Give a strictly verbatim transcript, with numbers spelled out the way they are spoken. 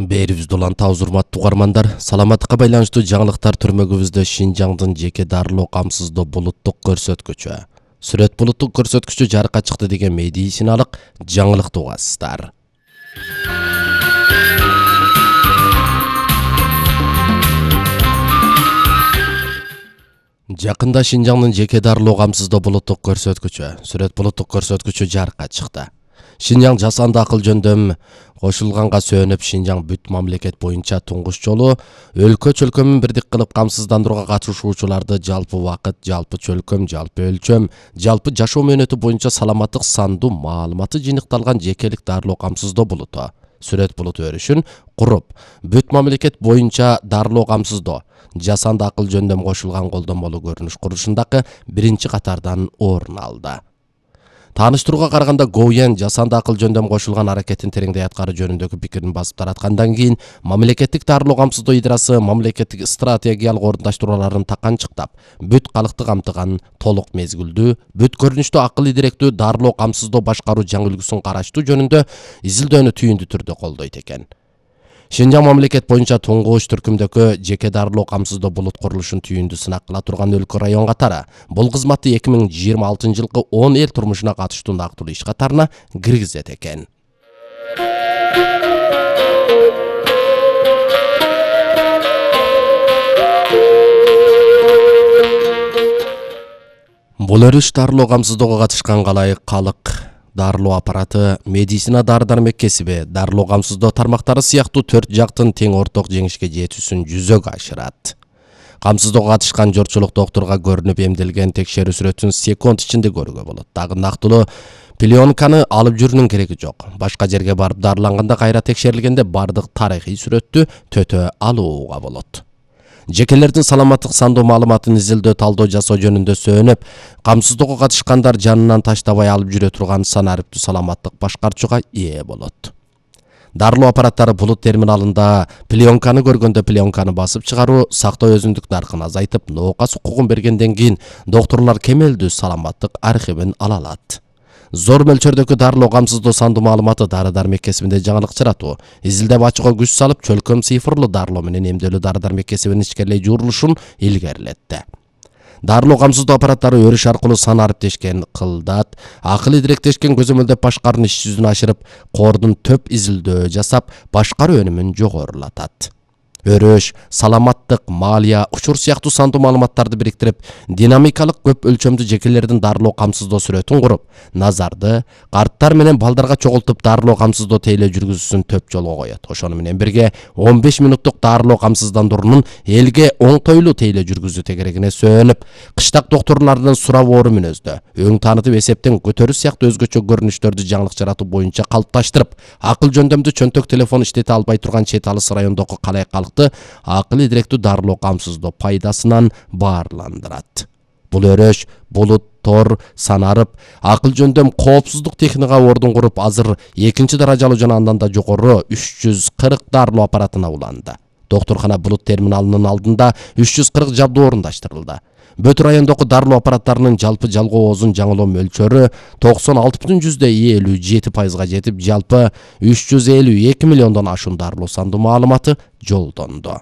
Бээрибизде улан табыз урматтуу угармандар, саламаттыкка байланыштуу жаңылыктар түрмөгүбүздө Шинжаңдын жеке дарылоо камсыздоо булуттук көрсөткүчү. Сүрөт булуттук көрсөткүчү жарыкка чыкты деген медициналык жаңылыкты угасыздар. Жакында Шинжаңдын жеке дарылоо камсыздоо булуттук көрсөткүчү, сүрөт булуттук көрсөткүчү жарыкка чыкты. Шинжаң жасанды акыл жөндөм кошулганга сөөнүп, Шинжаң бүт мамлекет боюнча туңгуч жолу өлкө чөлкөмүн бирдик кылып камсыздандырууга катышуучуларды жалпы убакыт, жалпы чөлкөм, жалпы өлчөм, жалпы жашоо мөөнөтү боюнча саламаттык сандуу маалыматы жыйныкталган жекелик дарылоо камсыздоо булуту, сүрөт булуту өрүшүн куруп, бүт мамлекет боюнча дарылоо камсыздоо, жасанды акыл жөндөм кошулган колдонмолуу көрүнүш курушундагы биринчи катардан орун алды. Тааныштырууга караганда Гоуен жасанды акыл жөндөм кошулган аракетин тереңдей аткаруу жөнүндөгү пикирин басып тараткандан кийин мамлекеттик дарылоо камсыздоо идрасы мамлекеттик стратегиялык орундаштырууларын таканчыктап, бүт калкты камтыган толук мезгилдүү, бүт көрүнүштүү акыл идиректүү дарылоо камсыздоо башкаруу жаңы үлгүсүн караштуу жөнүндө изилдөөнү түйүндүү түрдө колдойт экен. Шинжаң мамлекет боюнча туңгуч түркүмдөгү жеке дарылоо камсыздоо булут курулушун түйүндүү сынак кыла турган өлкө район катары бул кызматты эки миң жыйырма алтынчы жылкы он эл турмушуна катыштуу нактылуу иш катарына киргизет экен. Бул өрүш дарылоо камсыздоого катышкан калайык калык, дарылоо аппараты, медицина дары-дармек кесиби, дарылоо камсыздоо тармактары сыяктуу төрт жактын тең орток жеңишке жетүүсүн жүзөгө ашырат. Камсыздоого катышкан жортчулук доктурга көрүнүп эмделген текшерүү сүрөтүн секунд ичинде көрүүгө болот. Дагы нактылуу пленканы алып жүрүүнүн кереги жок. Башка жерге барып дарыланганда кайра текшерилгенде бардык тарыхый сүрөттү төтө алууга болот. Жекелердин саламаттык сандуу маалыматын изилдөө, талдоо жасоо жөнүндө сөөнүп, камсыздоого катышкандар жанынан таштабай алып жүрө турган санариптүү саламаттык башкарчуга ээ болот. Дарылоо аппараттары булут терминалында пленканы көргөндө пленканы басып чыгаруу сактоо өзүндүк наркын азайтып, ноокас укугун бергенден кийин доктурлар кемелдүү саламаттык архивин ала алат. Зор мөлчөрдөгү дарылоо камсыздоо сандуу маалыматы дары-дармек кесибинде жаңылык жаратуу, изилдеп ачууга күч салып, чөлкөм цифрлы дарылоо менен эмделүү дары-дармек кесибинин ичкерилей жуурулушун илгерилетти. Дарылоо камсыздоо аппараттары өрүш аркылуу сан ариптешкен кылдат, акыл идиректешкен көзөмөлдөп башкаруунун иш жүзүн ашырып, кордун төп изилдөө жасап, башкаруу өнүмүн жогорулатат. Өрүш, саламаттык, малия, учур сыяктуу сандуу маалыматтарды бириктирип, динамикалык көп өлчөмдүү жекелердин дарылоо камсыздоо сүрөтүн куруп, назарды карттар менен балдарга чогултуп дарылоо камсыздоо тейлөө жүргүзүүсүн төп жолго коет. Ошону менен бирге он беш мүнөттүк дарылоо камсыздандыруунун элге оңтойлуу тейлөө жүргүзүү тегерегине сөөнүп, кыштак доктурлардын сурабоору мүнөздө, өң таанытып эсептен көтөрүү сыяктуу өзгөчө көрүнүштөрдү жаңылык жаратуу боюнча калыпташтырып, акыл жөндөмдүү чөнтөк телефон иштете албай турган чет алыс райондогу калай калк акыл идиректүү дарылоо камсыздоо пайдасынан баарландырат. Бул өрөш булут, тор, санарып, акыл жөндөм коопсуздук техникага ордун куруп, азыр экинчи даражалуу жана андан да жогору үч жүз кырк дарылоо аппаратына уланды. Доктуркана булут терминалынын алдында үч жүз кырк жабдуу орундаштырылды. Бүт райондогу дарылоо аппараттарынын жалпы жалгоо оозун жаңылоо мөлчөрү токсон алты бүтүн элүү жети пайызга жетип, жалпы үч жүз элүү эки миллиондон ашуун дарылоо сандуу маалыматы жолдонду.